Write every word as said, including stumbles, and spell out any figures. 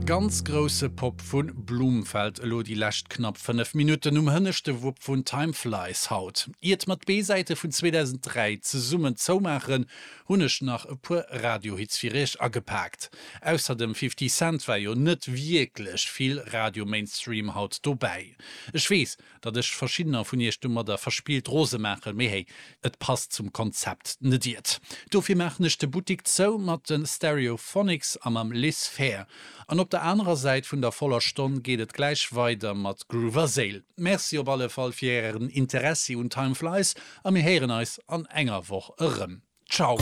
Ganz grousse Pop vu Blumfeld elo déi lescht knapp fënnef Minutten um hënneschte Wupp vun Time Flies haut. Iert mer d'B-Säite vun zweedausenddräi zesummen zoumaachen, hunn ech nach e puer Radiohits fir iech agepaakt. Ausser dem Fifty Cent war jo net wierklech vill Radio-Mainstream haut dobäi. Ech weess, datt ech verschiddener vun iech domadder verspillt rose maachen, mee hey, et passt zum Konzept, net iert? Dofir maachen ech de Buttik zou mat de Stereophonics a mam Liz Phair. An op der anerer Säit vun der voller Stonn geet et gläich weider mat Groove Séil. Merci op alle Fall fir ären Interessi un Time Flies a mir héieren eis an enger Woch erëm. Ciao!